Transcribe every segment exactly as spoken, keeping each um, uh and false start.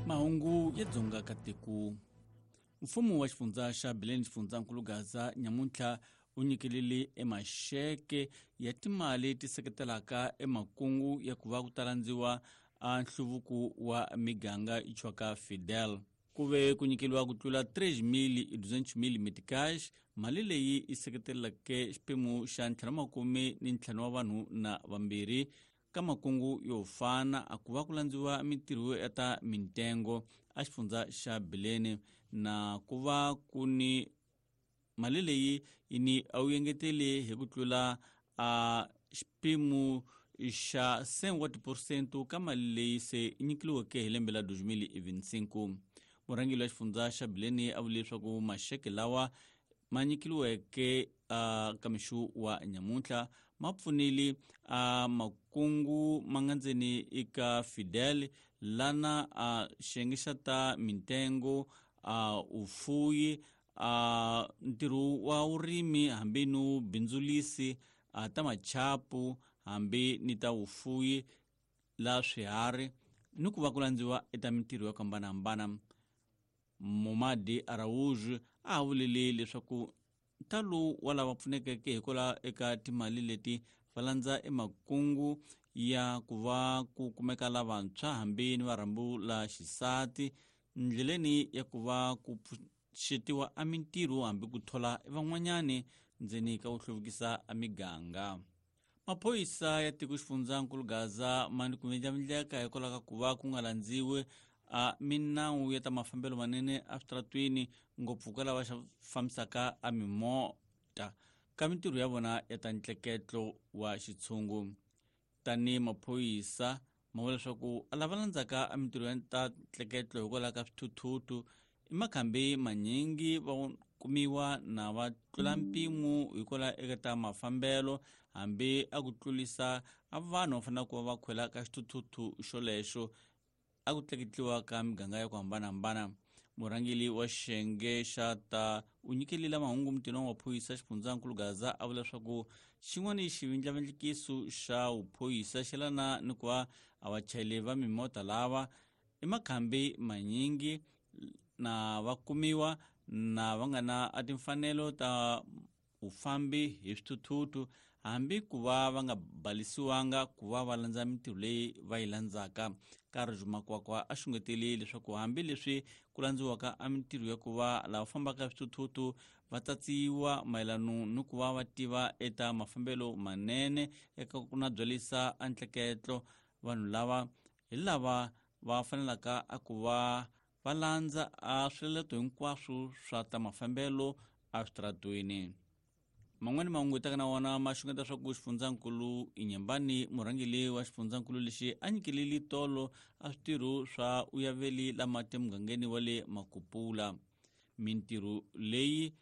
Mahungu ya Dzonga ka tiko. Mfumo wa xifundza xa Bileni xifundzankulu Gaza nyamuntlha u nyikelele emaxeke ya timali ti seketelaka emakungu ya ku va ku talandziwa a nhluvuko wa miganga ichwaka Fidel. Ku ve ku nyikeliwa ku tlula três mil e duzentos mil meticais, mali leyi yi seketeleke xiphemu xa ntlhanu makume ni ntlhanu wa vanhu na vambirhi ka makungu yo fana a ku va ku landziwa mintirho ya ta mintengo a xifundza xa Bileni na ku va ku ni mali leyi yi ni a wu engetele hi ku tlula a xiphemu xa cem por cento ka mali leyi se yi nyikeliweke hi lembe la dois mil e vinte e cinco. Murhangeri wa xifundza xa Bileni a vule leswaku maxeke lawa ma nyikeliweke a ka mixo wa nyamuntlha ma pfunile a makungu ma nga ndzeni eka Fidel lana a xiyenge xa ta mintengo a ufuyi a ntirho wa vurimi hambi no bindzulisi a ta machapu hambi ni ta vufuyi la swiharhi ni ku va ku landziwa eka mintirho yo hambanahambana. Momadi Araújo a vulile leswaku ntalo wa lava pfunekeke hikwalaho eka timali leti va landza emakungu ya ku va ku kumeka lavantshwa hambi ni varhambu la xisati ndleleni ya ku va ku pfuxetiwa a mintirho hambi ku thola van'wanyani ndzeni ka ku hluvukisa a miganga. Maphorisa ya tiko xifundzankulu Gaza ma ni ku vindlavindleka hikwalaho ka ku va ku nga landziwi a minawu ya ta mafambelo manene eswitaratweni ngopfu ka lava fambisaka a mimota ka mintirho ya vona ya ta ntleketlo wa xitshungu. Tani maphorisa ma vula leswaku a lava landzaka a mintirho ya ta ntleketlo hikwalaho ka swithuthuthu i makhambi manyingi va kumiwa na va tlula mpimo hikwalaho eka ta mafambelo hambi a ku tlulisa a vanhu va fanele ku va va khwela ka xithuthuthu xolexo a ku tleketliwa ka miganga ya ku hambanahambana. Murhangeri wa xiyenge xa ta u nyikelile mahungu mutini wa maphorisa xifundzankulu Gaza a vula leswaku xin'wana xivindlavindlikiso xa vuphorisa xi lana ni ku va a vachayeri va mimota lava i makhambi manyingi na va kumiwa na va nga na a timfanelo ta vufambi hi swithuthuthu hambi ku va va nga balisiwanga ku va va landza mintirho leyi va yi landzaka. Karhi Makwakwa a xungetele leswaku hambi leswi ku landziwaka a mintirho ya ku va lava fambaka swithuthuthu va tsatsiwa mayelano ni ku va va tiva eta mafambelo manene eka ku na byalisa a ntleketlo vanhu lava hi lava va fanelaka a ku va va landza a swiletelo hinkwaswo swa ta mafambelo eswitaratweni. Man'wani mahungu taka na wona ma xungeta swa ku xifundzankulu Inyambani murhangeri wa xifundzankulu lexi a nyikelile tolo a switirho swa uyaveli la mati emugangeni wa le Makupula. Mintirho leyi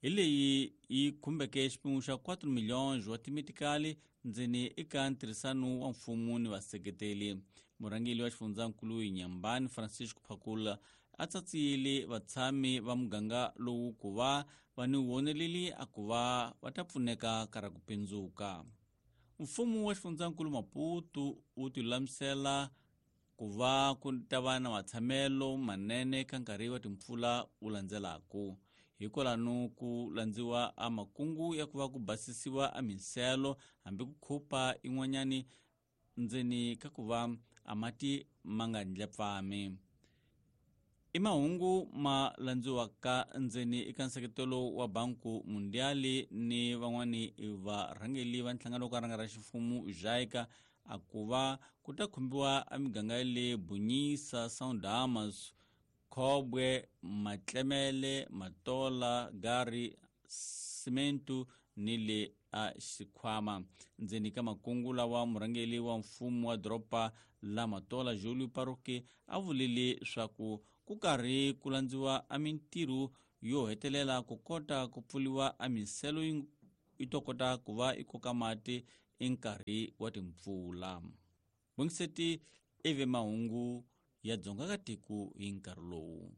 hi leyi yi khumbeke xiphemu xa quatro milhões wa timetikali ndzeni eka ntirhisano wa mfumo ni vaseketeli. Murhangeri wa xifundzankulu Inyambani Francisco Phakula a tsatsiyile vatshami va muganga lowu ku va va ni voneleli a ku va va ta pfuneka ka ra ku pindzuka. Mfumo wa xifundzankulu Maputo wu tilulamisela ku va ku ta va na matshamelo manene ka nkarhi wa timpfula wu landzelaka. Hikwalano ku landziwa a makungu ya ku va ku basisiwa a minselo hambi ku khupa in'wanyani ndzeni ka ku va a mati ma nga ndlepfami. I mahungu ma landziwaka ndzeni eka nseketelo wa Banku Mundiali ni van'wani varhangeri va nhlangano wo ka ranga ra ximfumo JICA a ku va ku ta khumbiwa a miganga ya le Bunyisa, São Damas, Khobwe, Matlemele, Matola, Gari, Simentu ni le a Xikhwama. Ndzeni ka makungu lawa murhangeri wa mfumo wa doroba la Matola Julio Paroque a vulile swaku ku karhi ku landziwa a mintirho yo hetelela ku kota ku pfuriwa a minselo yi to kota ku va yi koka mati enkarhi wa timpfula. Bongiseti ivi mahungu ya Dzonga ka tiko hi nkarhi lowu.